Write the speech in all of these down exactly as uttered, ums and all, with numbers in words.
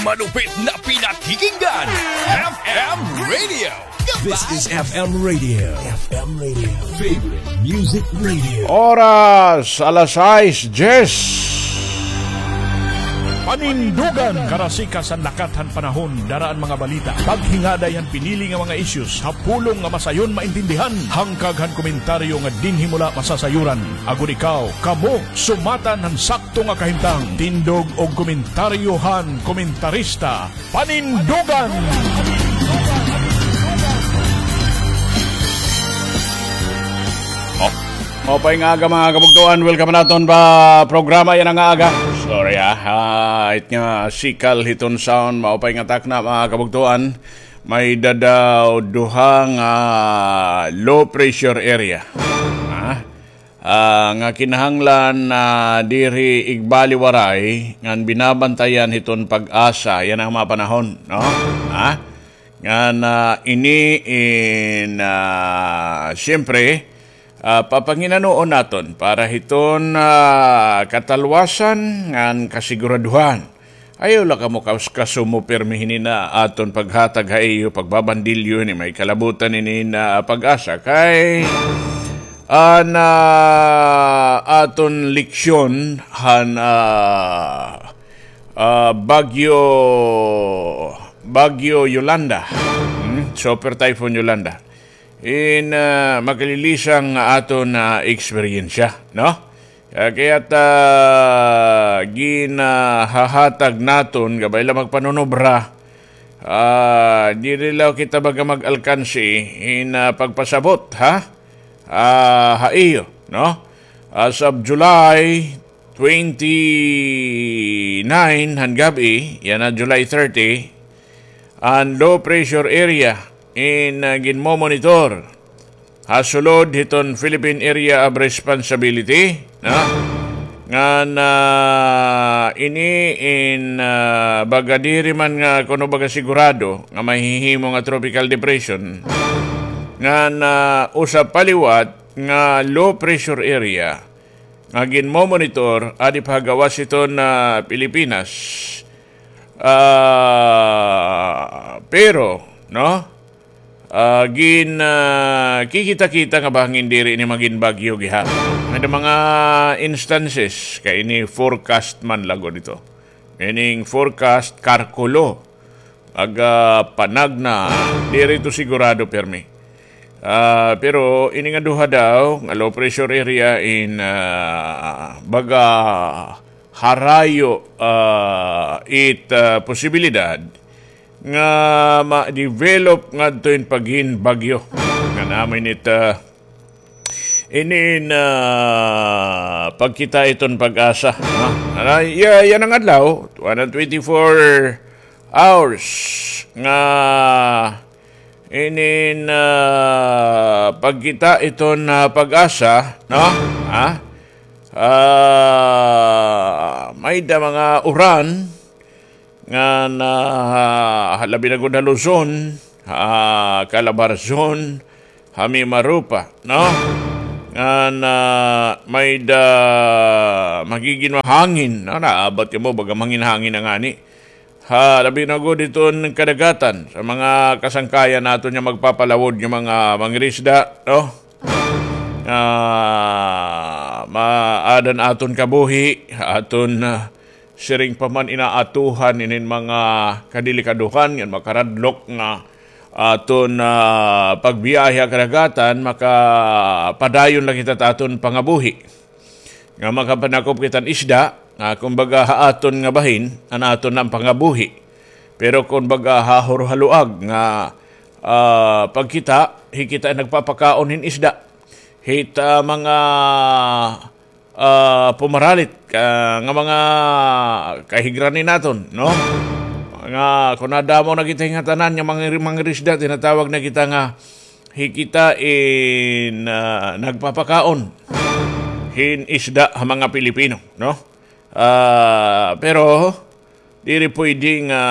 Malupit na pinakikinggan, F M Radio. This is F M Radio. F M Radio. Favorite music radio. Oras, alas sais diyes. Panindugan. Karasikas han lakat han panahon, dara an mga balita. Paghingaday han pinili nga mga issues ha pulong nga masayon maintindihan. Hangkag han komentaryo nga dinhi mo la masasayuran. Agod ikaw, kamo, sumatan han sakto nga kahimtang. Tindog og komentaryo han komentarista. Panindugan! Oh. Maupay nga aga, mga kabugtoan. Welcome naton pa programa yana nga aga. Sorry, ah. Ah, it nga sikal hiton sound. Maupay nga takna, mga kabugtoan. May-ada daw duha nga low pressure area. Ah, ah, nga kinahanglan, ah, diri igbaliwaray ngan binabantayan hiton PAGASA yana nga mga panahon, no? Ha? Ngan, ah, ini in, ah, siyempre, ah, papanginanoon naton para hiton, ah, katalwasan ngan kasiguraduhan. Ayaw la kamo kas-, kasumo pirmi hini nga aton paghatag ha iyo, pagbabandilyo hini, may kalabutan hini nga PAGASA. Kay an, ah, aton leksyon han, ah, ah, Bagyo, Bagyo Yolanda. Hmm? Super Typhoon Yolanda. In, ah, makalilisang aton, ah, eksperyensya, no? Ah, kay it, ah, ginahahatag naton, gabay la magpanunobra, ah, diri la kita baga mag-alkansi hin, ah, pagpasabot, ha? Ah, ha iyo, no? As of July twenty-nine han gab-i, yana July thirty, an low pressure area in, ah, ginmomonitor ha sulod hiton Philippine Area of Responsibility, no? Ngan, ah, ini in, ah, baga diri man nga kuno baga sigurado nga mahihimo nga tropical depression, ngan, ah, usa pa liwat nga low pressure area nga ginmomonitor adi pa ha gawas hiton, ah, Pilipinas. Ah, pero, no? Ah, gin, ah, kikita-kita nga bahangin diri ini magin bagyo gihap. May mga instances kay ini forecast man la gud ito. Meaning forecast, karkulo. Aga panagna, diri ito sigurado pirmi. Ah, pero ini nga duha daw nga low pressure area in, ah, baga harayo, ah, it, ah, posibilidad nga ma-develop ngadto in pagin bagyo. Nga namin it, ah, ini in, ah, pagkita hiton PAGASA, no? Ano, ya-, yana nga adlaw, two hundred twenty-four hours nga ini in, ah, pagkita hiton, ah, PAGASA, no? Ha? Ah, may-ada mga uran, ngan, ah, labi na gud ha Luzon, ha Calabarzon, ha Mimaropa, no? Ngan, ah, may-ada magigin hangin, no? Naabot kamo, baga manginhangin na ngani. Ha, labi na gud hiton kadagatan, sa mga kasangkayan naton nga magpapalawod nga mga mangirisda, no? Ah, maaada an aton kabuhi, aton, ah, siring pa man inaatuhan inin mga kadelikadohan ngan makaradlok nga aton, ah, pagbiyahe ha kadagatan, makapadayon la kita ta aton pangabuhi. Nga makapanakop kita hin isda, nga kumbaga ha aton nga bahin, an aton nga pangabuhi. Pero kumbaga ha hurhaluag nga, ah, pagkita, hi kita nagpapakaon hin isda. Hit, ah, mga ah, pumaralit ka, nga mga kahigrani naton, no? Nga kun nadamo na kita hin ngatanan nga mga, mangirisda, tinatawag na kita nga hi kita in, ah, nagpapakaon hin isda ha mga Pilipino, no? Ah, pero diri pwede nga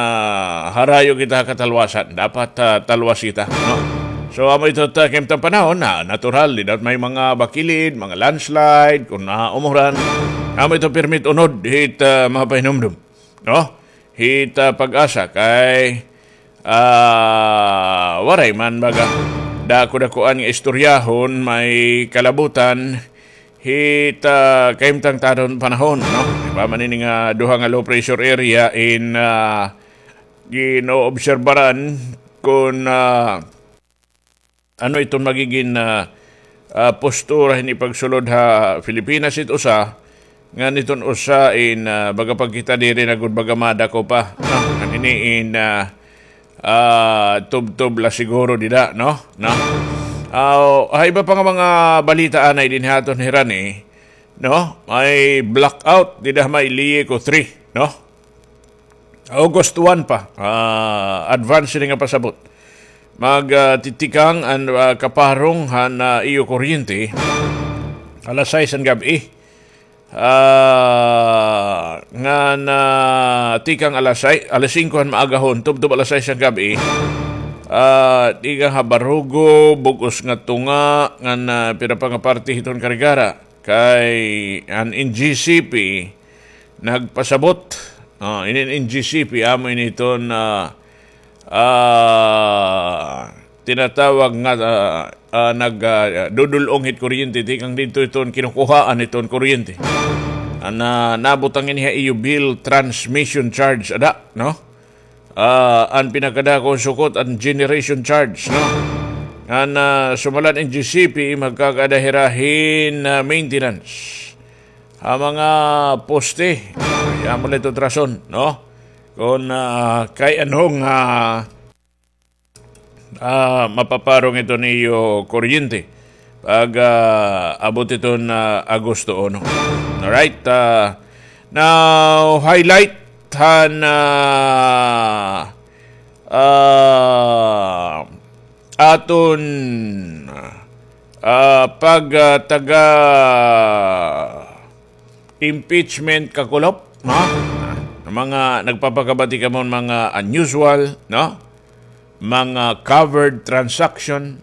harayo kita ha katalwasan. Dapat, ah, talwas kita, no? So, amo ito ta, kay ta panahon na natural, dida may mga bakilid, mga landslide, kun naumuran. Amo ito pirmi it unod hit, ah, mga pahinumdom, no? hit, ah, PAGASA kay, ah, waray man baga dako-dakoan nga istoryahon, may kalabutan hit, ah, kahimtang ta aton panahon, no? Iba man ini nga duha nga low pressure area in, ah, ginoobserbaran kon, ah, ano iton magigin, ah, ah, postura hini pagsulod ha Pilipinas it usa, ngan iton usa in, ah, baga pagkita diri na gud baga madako pa, no? Ngan ini in, ah, ah, tubtob la siguro dida, no? No? Ah, ha iba pa nga mga balita anay dinhi ha aton hirani, no? May blackout dida ha may Lico three, no? August one pa, ah, advance ini nga pasabot. Mag, ah, titikang an, ah, kaparong han, ah, iyo kuryente alas sais han gab-i. Ah, ngan tikang alas sais, alas singko han maagahon, tubtob alas sais han gab-i. Ah, tikang ha Barugo, bug-os nga tunga, ngan, ah, pira pa nga parte hiton Carigara. Kay an N G C P nagpasabot. Ah, ini N G C P, amo ini iton, ah, ah, tinatawag nga, ah, ah, nag, ah, dudul-ong hit kuryente, tikang didto iton kinukuhaan iton kuryente. An, ah, nabutang ini ha iyo bill, transmission charge, ada, no? Ah, an pinakadako sukot an generation charge, no? An, ah, sumala han N G C P, magkakaada hira hin, ah, maintenance ha mga poste. Amo la ito rason, no? Kon, ah, kay ano nga, ah, mapaparong iton iyo kuryente pag, ah, abot iton, ah, Agosto uno. Alright, ah, now highlight han, ah, ah, aton, ah, pag, ah, taga impeachment kakulop, no? Ah, mga nagpapakabati kamo mga unusual, no? Mga covered transaction,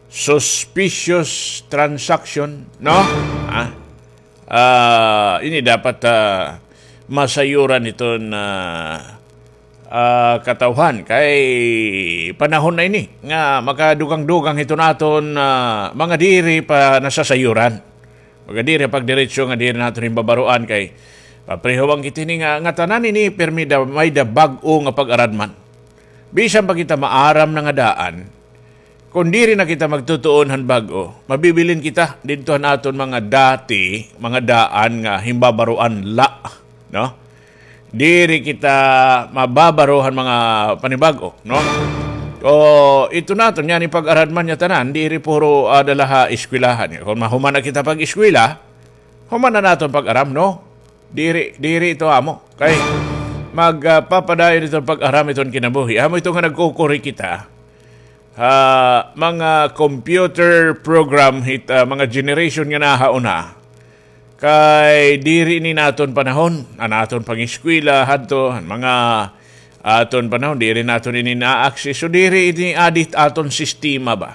suspicious transaction, no? Ah, ah, ini dapat, ah, masayuran iton, ah, ah, katawhan kay panahon na ini nga makadugang-dugang hiton aton, ah, mga diri pa nasasayuran. Mga diri pagdiretso nga diri naton himbabaroan kay papreho man kita hini nga, nga tanan ini pirmi da, may da bag-o nga pag-aradman. Bisan pa kita maaram na nga daan, kon diri na kita magtutuon han bag-o, mabibilin kita didto han aton mga dati, mga daan nga himbabaroan la, no? Diri kita mababaro han mga panibag-o, no? O, ito naton, yana pag-aradman nga tanan, diri puro, ah, dala ha eskwelahan. Kon mahuman na kita pag-eskwela, human na naton pag-aram, no? Diri, diri ito amo. Kay mag, ah, papadayon iton pag-aram iton kinabuhi. Amo ito nga nagkukuri kita ha mga computer program hit, ah, mga generation nga nahauna. Kay diri ini naton panahon, an aton pangeskwela hadto, an mga aton panahon, diri naton ini na-access. So, diri ini adi hit aton sistema ba.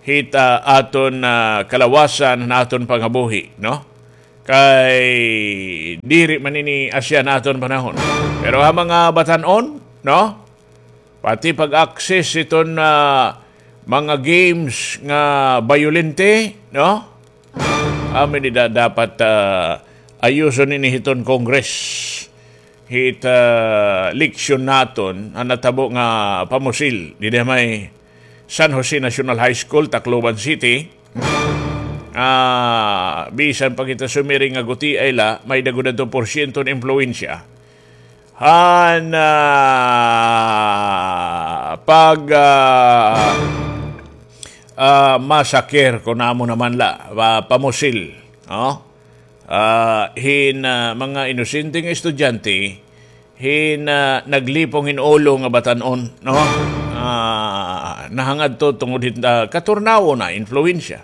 Hit, ah, aton, ah, kalawasan, han aton pangabuhi, no? Kay diri man ini asya han aton panahon. Pero ha mga batan-on, no? Pati pag-access hiton, ah, mga games nga bayolente, no? Amo ini da-, dapat, ah, ayuson ini hiton Congress. Hit, ah, eleksyon naton, an natabo nga pamusil didi ha may San Jose National High School, Tacloban City. Ah, bisan pa kita sumiring nga gutiay la, may da gud adto porsyento nga impluwensya han, ah, pag, ah, ah, massacre, kon amo naman la, ah, pamusil, no? Ah, hin, ah, mga inosente nga estudyante, hin, ah, naglipong hin ulo nga batan-on, no? Ah, nahangadto tungod hit, ah, katurnaw na impluwensya.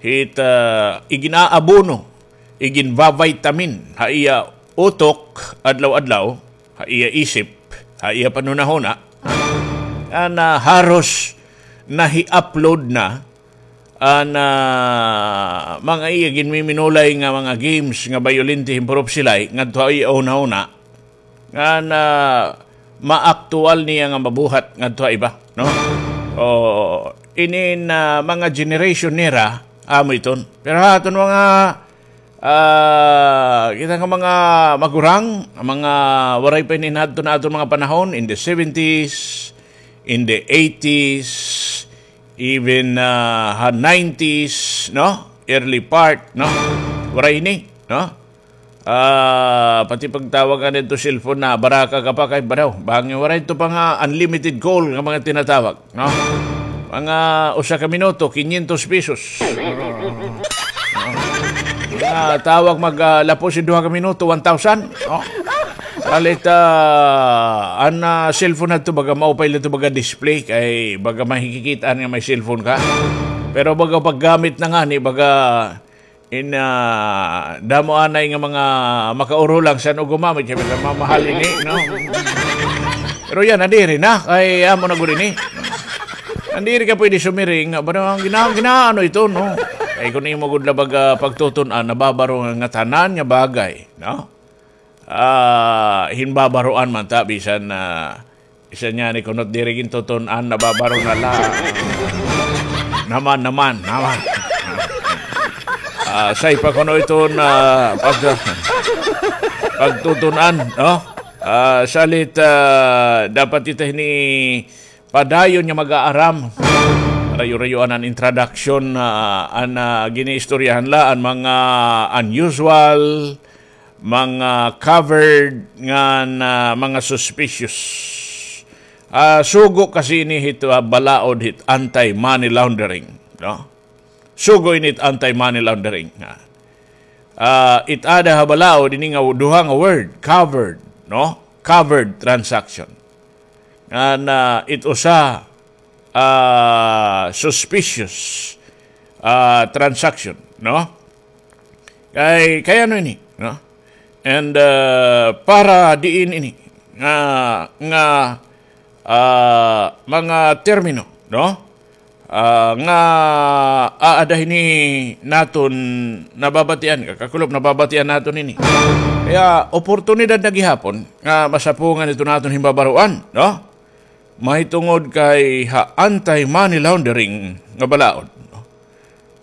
Hit, ah, igin-aabono, iginba-vitamin ha iya utok adlaw-adlaw, ha iya isip, ha iya panhunahuna. An, ah, haros nahi-upload na an, ah, mga iya ginmiminulay nga mga games nga bayolente hin Prof. Silay ngadto ha iya hunahuna. ngan maaktuwal niya nga mabuhat ngadto ha iba, no? O, inin, ah, mga generation nira, amo iton. Pero ha aton mga, ah, kita nga mga magurang, mga waray pa ini hadto na aton mga panahon, in the seventies, in the eighties, even, ah, ha nineties, no? Early part, no? Waray ini, no? Ah, pati pagtawag nga didto cellphone na, baraka ka pa kay baraw. Bangin waray ito pa nga unlimited call nga mga tinatawag, no? Mga usa ka minuto, kinyentos pesos. No? Mga tawag mag, ah, lapos in duha ka minuto, one thousand, no? Salit, ah, an, ah, cellphone na ito, baga maupay lang ito, baga display, kay baga mahikikit-an nga may cellphone ka. Pero baga paggamit na ngani, baga in, ah, damo anay nga mga makaurulang san og gumamit, kay baga mamahal ini, no? Pero yana, nadiri na, kay amo na gud ini. Nadiri ka pwede sumiring nga, ba, gina-, ginaano ito, no? Kay kun imo gud la baga pagtutun-an, nababaro nga ngatanan nga bagay, no? Ah, hinbabaroan man ta, bisan, ah, bisan yana kunot diri gintutun-an, nababaro na la. Naman, naman, naman. Ah, say pa kuno iton pag-, pagtutun-an, no? Ah, salit, ah, dapat ito hini padayon nga mag-aaram. Rayo-rayoan an introduction, ah, an, ah, giniistoryahan la, an mga unusual, mga covered, ngan mga suspicious. Ah, sugo kasi ini hit, ah, balaod hit anti-money laundering, no? Sugo ini hit anti-money laundering, ah. Ah, it-ada ha balaod ini nga duha nga word, covered, no? Covered transaction. Ngan, ah, it usa, ah, suspicious, ah, transaction, no? Kay, kay ano ini, no? And, ah, para diin ini nga, nga, ah, mga termino, no? Ah, nga aada hini naton nababatian, kakakulop, nababatian naton ini. Kaya oportunidad na gihapon nga masapungan ito naton himbabaroan, no? Mahitungod kay ha anti-money laundering nga balaod, no?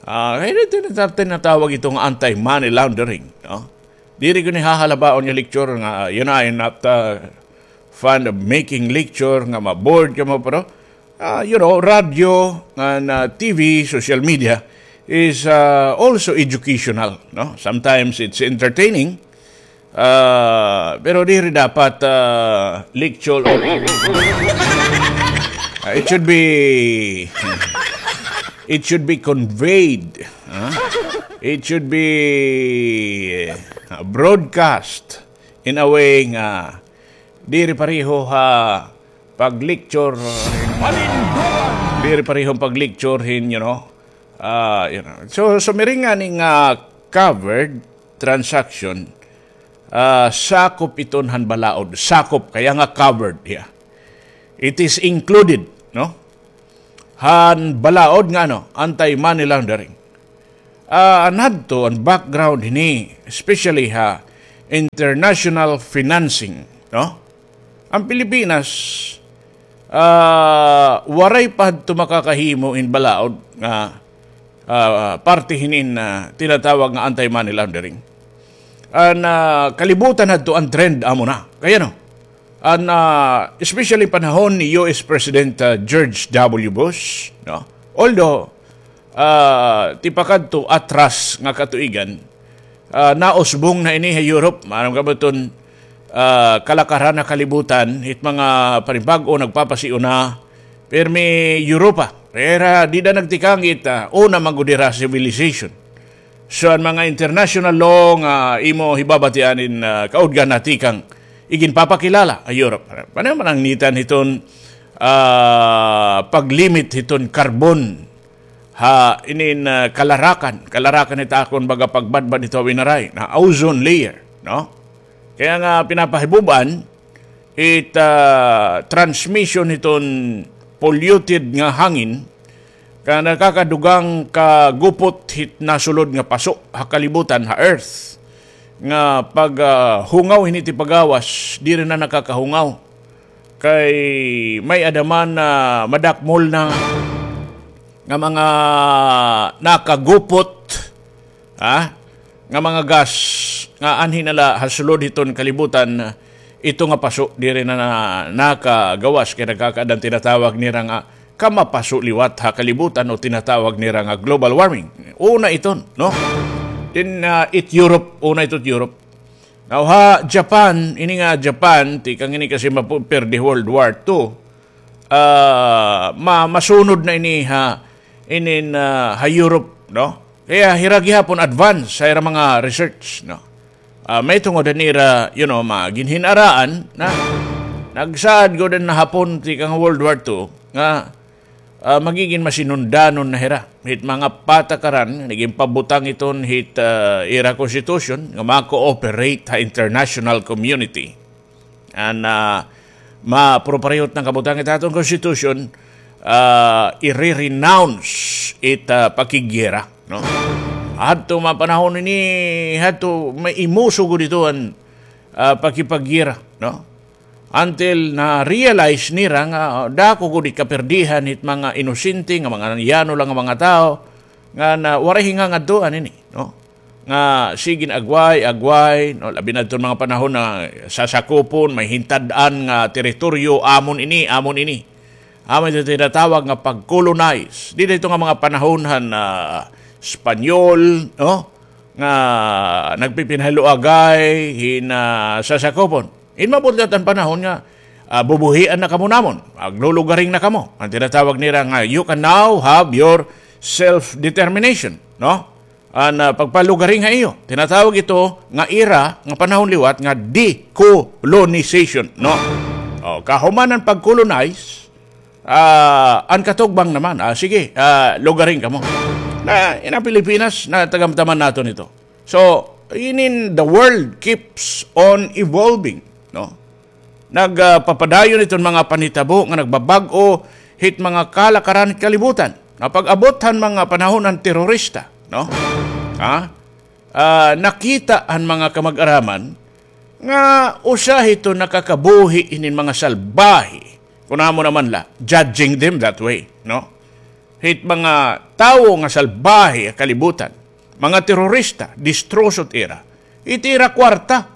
Ah, kay dito na tinatawag ito nga anti-money laundering, no? Diri ko ni hahalabaon nga lecture nga, you know, I'm not, uh, fond of making lecture nga ma-bored ka mo, pero, uh, you know, radio and, uh, T V, social media is, uh, also educational, no? Sometimes it's entertaining, uh, pero diri dapat, uh, lecture. Uh, it should be, it should be conveyed, huh? It should be, uh, broadcast in a way nga diri pareho ha pag-lecture, diri pareho pag-lecture hin, you know, ah, you know. So, sumiring ngani nga covered transaction, ah, sakop iton han balaod, sakop, kaya nga covered, yeah. It is included, no? Han balaod nga, ano, anti-money laundering. Ah, an hadto, an background hini, especially ha international financing, no? An Pilipinas, ah, waray pa hadto makakahimo hin balaod nga, ah, parte hinin, ah, tinatawag nga anti-money laundering. An, ah, kalibutan hadto an trend amo na. Kay ano, an, ah, especially panahon ni U S President, ah, George W. Bush, no? Although, ah, tipakadto atras nga katuigan, ah, nausbong na ini ha Europe. Maaram ka ba iton, ah, kalakaran ha kalibutan, it mga panibag-o nagpapasiuna, pirmi Europa. Pero dida nagtikang it, ah, una man gud hira civilization. So, an mga international law nga imo hibabatian in, ah, kaudgan na tikang iginpapakilala ha Europe. Pareho man an ngitan hiton, ah, pag-limit hiton carbon ha inin, ah, kalarakan. Kalarakan hit akon baga pagbadbad hito ha winaray, na ozone layer, no? Kaya nga pinapahibub-an it, ah, transmission hiton polluted nga hangin, nga nakakadugang kagupot hit nasulod nga paso ha kalibutan, ha Earth. nga pag, ah, hungaw hini tipagawas, diri na nakakahungaw. Kay may-ada man na madakmol na nga mga nakagupot, ha? Nga mga gas nga anhi na la ha sulod hiton kalibutan, ito nga paso diri na, na nakagawas kay nagkakaada an tinatawag nira nga kamapaso liwat ha kalibutan o tinatawag nira nga global warming. Una iton, no? Then, ah, it Europe, una ito it Europe. Now, ha Japan, ini nga Japan, tikang ini kasi mapu-, pirdi World War Two. Ah, ma-, masunod na ini ha, inin, ah, ha Europe, no? Kaya hira gihapon advance sa ira mga research, no? Ah, may tungod han ira, you know, mga ginhin-araan na nagsaad gud an Hapon tikang World War Two nga, ah, magigin masinundanon na hira hit mga patakaran nga nagin pabutang iton hit, ah, ira constitution nga ma-cooperate ha international community. An, ah, maproparehot nga kabutang it aton constitution, ah, i-renounce it, ah, pakiggera, no? Hadto mga panahon ini, hadto may imuso gud ito an, ah, pakipaggera, no? Until na-realize nira nga, ah, dako gud it kapirdihan hit mga inosente nga mga yano lang nga mga tawo nga na waray hingangadtuan ini, no? Nga sige agway, agway, no? Labi na adton mga panahon na sasakupon, may hintad-an nga teritoryo, amon ini, amon ini. Amon ito tinatawag nga pag-colonize. Dida ito nga mga panahon han, ah, Espanyol, no? Nga nagpipinhaluagay hin, ah, sasakupon. In maabot la it an panahon nga, ah, bubuhian na kamo namon, maglulugaring na kamo. An tinatawag nira nga, you can now have your self-determination, no? An, ah, pagpalugaring ha iyo. Tinatawag ito nga ira nga panahon liwat nga decolonization, no? O, kahuman an pag-colonize, ah, an katugbang naman, ah, sige, ah, lugaring kamo. Na, in an Pilipinas, natagamtaman naton ito. So, inin the world keeps on evolving, no? Nag, ah, papadayon iton mga panhitabo nga nagbabag-o hit mga kalakaran hit kalibutan. Nga pag-abot han mga panahon han terorista, no? Ha? Ah, nakita han mga kamag-araman nga usa hito nakakabuhi hinin mga salbahe. Kun amo naman la, judging them that way, no? Hit mga tawo nga salbahe ha kalibutan, mga terorista, distroso it ira. It ira kwarta.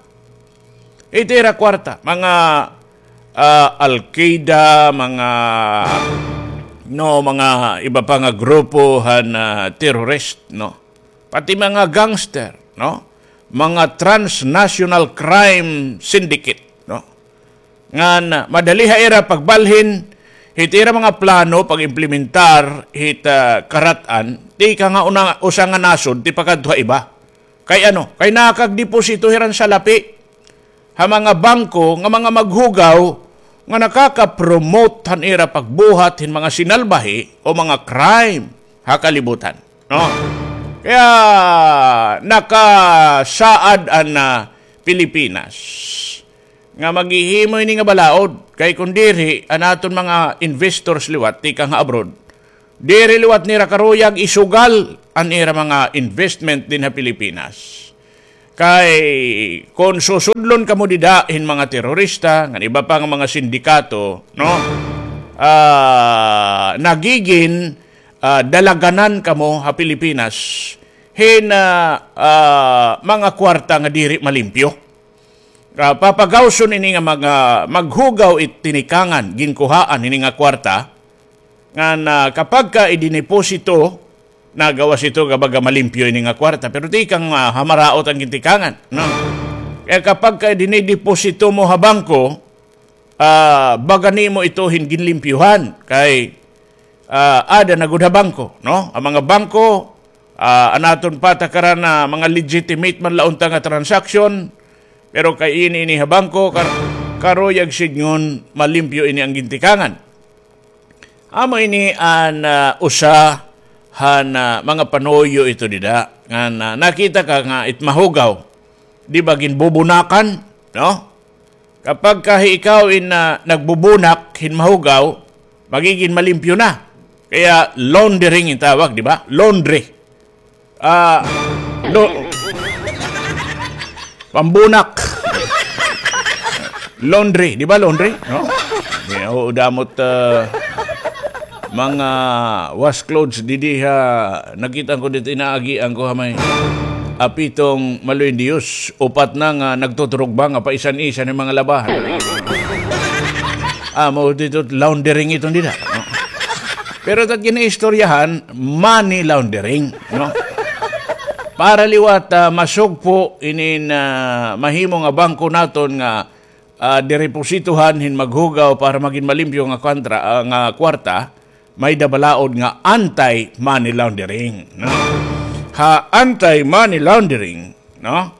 It ira kwarta. Mga, ah, Al-Qaeda, mga, no, mga iba pa nga grupo han, ah, terrorist, no? Pati mga gangster, no? Mga transnational crime syndicate, no? Ngan madali ha ira pagbalhin hit ira mga plano pag-implementar hit, ah, karat-an, tikang ha una, usa nga nasod tipakadto ha iba. Kay ano? Kay nakagdeposito hira hin salapi ha mga bangko nga mga maghugaw nga nakaka-promote han ira pagbuhat hin mga sinalbahe o mga crime ha kalibutan, no? Kaya nakasaad an, ah, Pilipinas nga maghihimo ini nga balaod, kay kun diri, an aton mga investors liwat tikang ha abroad, diri liwat nira karuyag isugal an ira mga investment dinhi ha Pilipinas. Kay kun susudlon kamo dida hin mga terorista ngan iba pa nga mga sindikato, no? Ah, nagigin, ah, dalaganan kamo ha Pilipinas hin, ah, ah, mga kwarta nga diri malimpyo. Ah, papagawson ini nga mga maghugaw it tinikangan, ginkuhaan ini nga kwarta, ngan, ah, kapag ka idiniposito, nagawas ito nga baga malimpyo ini nga kwarta, pero tikang, ah, ha maraot an gintikangan, no? Kaya kapag ka idinideposito mo ha bangko, ah, baga nimo ito hin ginlimpyuhan, kay ah, aada na gud ha bangko, no? An mga bangko, ah, an aton patakaran na mga legitimate man la unta nga transaksyon, pero kay ini, ini ha bangko, kar-, karuyag sidngon malimpyo ini an gintikangan. Amo ini an, ah, usa han, ah, mga panuyo ito dida, nga na-, nakita ka nga it mahugaw, di ba, ginbubunakan, no? Kapag ka ikaw in, ah, nagbubunak hin mahugaw, magigin malimpyo na. Kaya laundering in tawag, di ba? Laundry. Ah, lo-, Pambunak. Laundry, di ba laundry? No? May, oo, damo it, ah, mga wash clothes didi ha, nakita ko didi, inaagian ko ha may apitong maluoy nga Diyos, upat na nga nagtuturugba nga paisan-isan hin mga labahan. Amo dida it laundering iton dida, no? Pero it at ginaistoryahan, money laundering, no? Para liwat, ah, masugpo inin, ah, mahimo nga bangko naton nga, ah, direpositohan hin maghugaw para magin malimpyo nga kontra, ah, nga kwarta, may-ada balaod nga anti-money laundering, no? Ha anti-money laundering, no?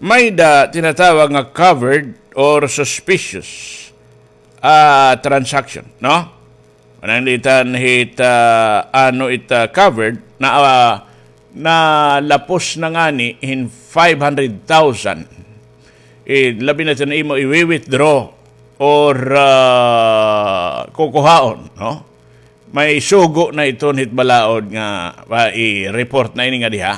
May-ada tinatawag nga covered or suspicious, ah, transaction, no? Pananglitan hit, ah, ano it, ah, covered na, ah, nalapos na ngani hin five hundred thousand. Eh, labi na iton imo i-withdraw or, ah, kukuhaon, no? May sugo na iton hit balaod nga, ah, i-report na ini nga diha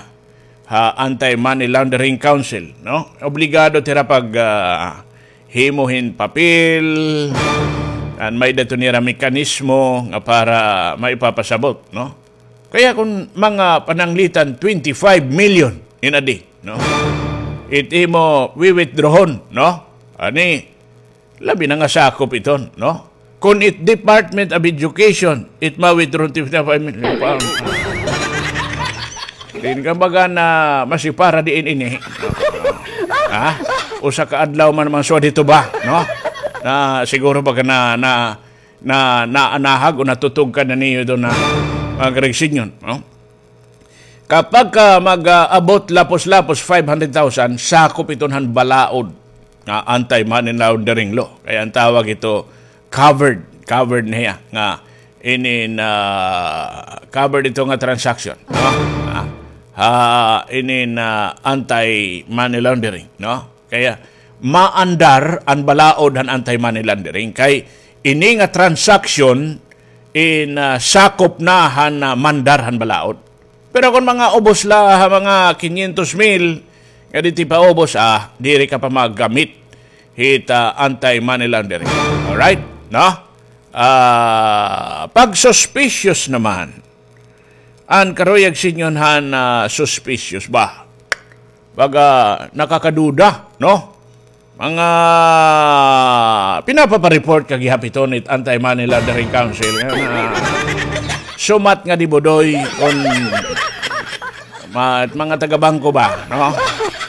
ha Anti-Money Laundering Council, no? Obligado it ira pag, ah, himo hin papel, an may-ada iton ira mekanismo nga para maipapasabot, no? Kaya kon mga pananglitan twenty-five million in a day, no? It imo wi-withdrawhon, no? Ani, labi na nga sakop iton, no? Kon it Department of Education, it ma-withdraw twenty-five million pa. Din ka baga na masipara diin ini. Ha? Usa ka adlaw man mga suwad hito ba, no? Na siguro baga na, na, na, naanahag o natutugkan na niyo ito na mga Greg Senior, no? Kapag ka mag-abot lapos-lapos five hundred thousand, sakop iton han balaod nga anti-money laundering law. Kaya an tawag ito covered, covered na hiya nga inin, ah, covered ito nga transaction, no? Ah, ha, inin, ah, anti-money laundering, no? Kaya maandar an balaod han anti-money laundering kay ini nga transaction in, ah, sakop na han, ah, mandar han balaod. Pero kon mga ubos la ha mga kinyentos mil nga di ti paubos, ah, diri ka pa maggamit hit, ah, anti-money laundering. Alright? No? Ah, pag suspicious naman, an karuyag Senior han, ah, suspicious ba? Baga nakakaduda, no? Mga pinapapa-report ka gihap iton hit Anti-Money Laundering Council nga, nga sumat nga di budoy kon ma-, mga taga-bangko ba, no?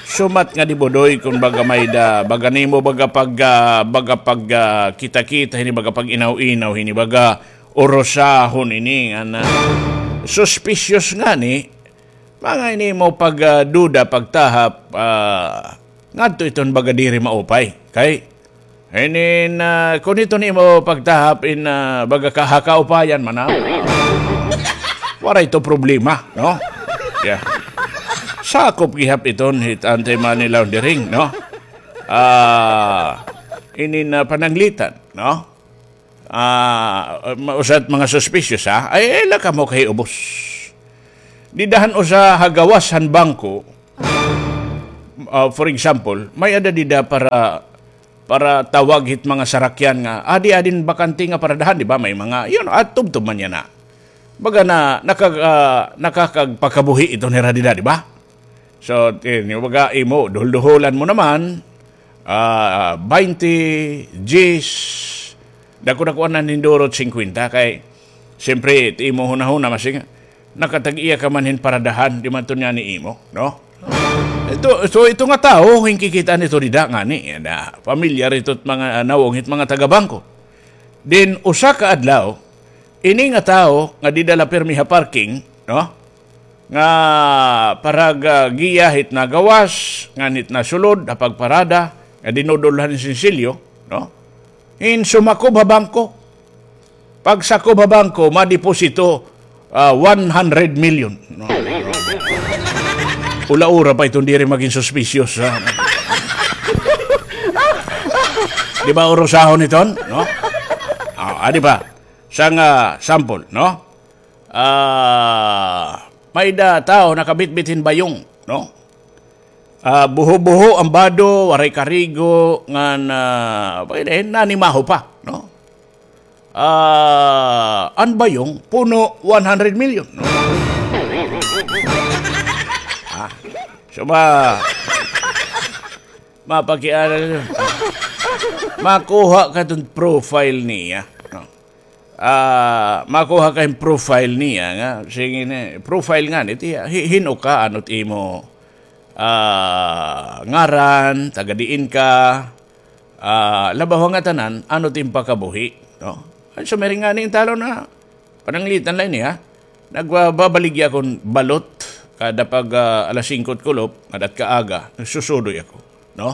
Sumat nga di budoy kon baga may-ada, baga nimo baga pag, ah, baga pag, ah, kita-kita hini, baga pag-inaw-inaw hini, baga urusahon ini nga na suspicious ngani, mga ini mo pag, ah, duda, pagtahap, ah, ngadto iton baga diri maupay. Kay, inin, ah, kon iton imo pagtahap in, ah, baga ka-, ha kaupayan man, ah, waray ito problema, no? Yeah. Sakop gihap iton hit anti-money laundering, no? Ah, inin, ah, pananglitan, no? Ah, ma-, usa it mga suspicious, ha? Ay, ay, la kamo kay ubos. Dida han usa ha gawas han bangko, ah, for example, may-ada dida para, para tawag hit mga sarakyan nga, "Adi, adin bakante nga paradahan," di ba? May mga, yun, at tubtob man yana. Baga na, nakag-, ah, nakakagpakabuhi ito nira dida, di ba? So, tin-, baga imo, duhol-duholan mo naman, ah, baynte, diyes, dako-dakoan na nindurot singkwenta kay, siyempre, it imo hunahuna, masing, nakatag-iya ka man hin paradahan, di man ito niya ni imo, no? Ito, so, ito nga tawo, hinkikita nito dida ngani, na, pamilyar ito it mga, ah, nawong hit mga taga-bangko. Then, usa ka adlaw, ini nga tawo nga dida la pirmi ha parking, no? Nga parag-, ah, giya hit nagawas, ngan hit nasulod, ha pagparada, nga dinudulhan hin sinsilyo, no? Hin sumakob ha bangko. Pagsakob ha bangko, madeposito, ah, one hundred million. No? Ula-ula pa iton diri magin suspicious, ha? Di ba urusahon iton, no? Ah, ah, di ba? Usa nga sample, no? Ah, may-ada tawo nakabitbit hin bayong, no? Ah, buho-buho an bado, waray karigo, ngan, ah, pwede, nanimaho pa, no? Ah, an bayong, puno, one hundred million, no? Ah, so ma-, mapakiana, makuha ka iton profile niya, no? Ah, makuha ka hin profile niya nga, sige na, profile ngani it iya, hi-, hin-o ka, ano it imo, ah, ngaran, taga diin ka, ah, labaw ha ngatanan, ano it im pakabuhi, no? An sumiring ngani in talon na, pananglitan la ini, ha? Nagbabaligya ako hin balot, kada pag, ah, alas singko it kulop, ngada it kaaga, nagsusudoy ako, no?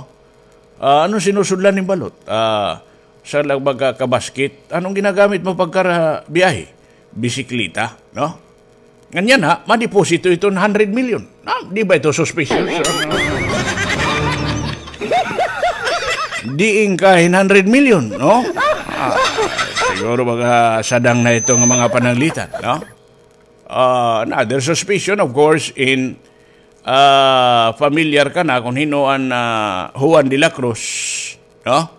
Ah, ano sinusudlan hin balot? Ah, sa lag-, magkakabasket, anong ginagamit mo pagkarabiyahe? Bisikleta, no? Nganyan ha, madeposito iton hundred million. Ah, di ba ito suspicious? Diin ka hin hundred million, no? Ah, siguro baga sadang na ito nga mga pananglitan, no? Ah, another suspicion, of course, in, ah, familiar ka na kon hin-o an, ah, Juan de la Cruz, no?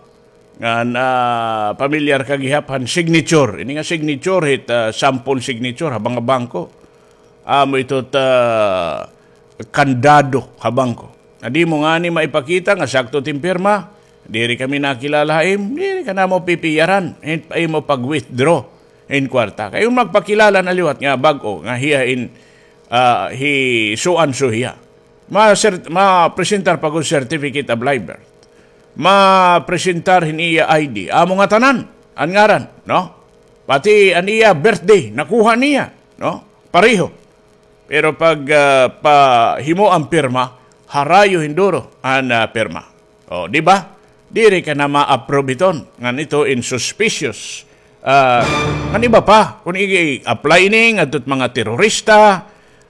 Ngan, ah, familiar ka gihap han signature. Ini nga signature, hit, ah, sample signature ha mga bangko. Amo ito it, ah, kandado ha bangko. Nga di mo ngani maipakita nga sakto it im pirma, diri kami nakilala ha im, diri ka namo pipiyaran hin imo pag-withdraw hin kwarta. Kay kon magpakilala na liwat nga bag-o nga hiya in, ah, hi so and so hiya. Ma-cert-, mapresentar pa gud certificate of live birth. Mapresentar hin iya I D. Amo ngatanan an ngaran, no? Pati an iya birthday, nakuha niya, no? Pareho. Pero pag, ah, pahimo an pirma, harayo hin duro an, ah, pirma. O, di ba? Diri ka na ma-approve iton. Ngan ito in suspicious. Ah, ngan iba pa, kon i-apply ini ngadto hit mga terorista,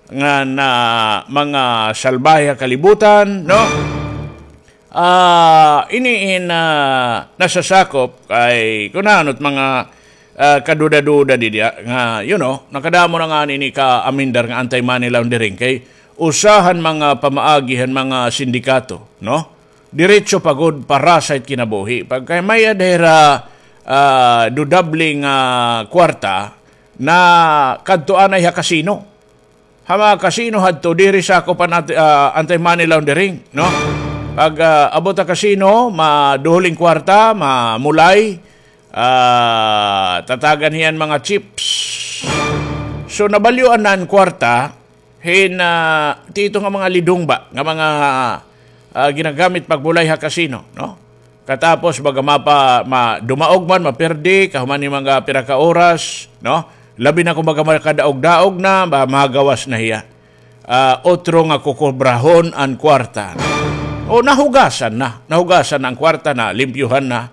ngan, ah, mga salbahe ha kalibutan, no? Ah, ini in, ah, nasasakop kay kun ano it mga, ah, kaduda-duda dida nga, you know, nakadamo na ngani ini ka-amendar nga anti-money laundering kay usa han mga pamaagi han mga sindikato, no? Diretso pa gud para sa it kinabuhi. Pagka may-ada hira, ah, dudable nga kwarta, nakadto anay ha kasino. Ha mga kasino hadto, diri sakop an anti-, ah, anti-money laundering, no? Pag, ah, abot ha kasino, maduhol in kwarta, mamulay, ah, tatagan hiya hin mga chips. So, nabalyuan na an kwarta hin, ah, tito nga mga lidong ba, nga mga, ah, ginagamit pagmulay ha kasino, no? Katapos, baga mapa-, ma-, dumaog man, mapirdi, kahuman hin mga pira ka oras, no? Labi na kon baga makadaog-daog na, ba, magawas na hiya. Ah, otro nga kukubrahon an kwarta. O, nahugasan na. Nahugasan na an kwarta, nalimpyuhan na.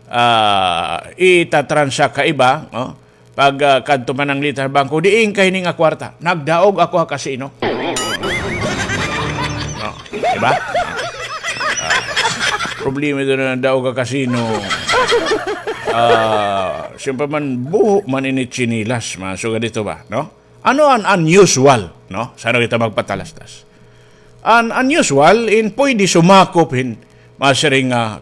Ah, itatransak ha iba, no? Pag, ah, kadto pananglitan ha bangko, diin ka hini nga kwarta? Nagdaog ako ha kasino. No, di ba? Ah, problema ito na nagdaog ha kasino. Ah, siyempre man, buho man ini tsinilas, mga sugad ito ba, no? Ano an unusual, no? Sa ano kita magpatalastas? An unusual, in pwede sumakop hin masiring nga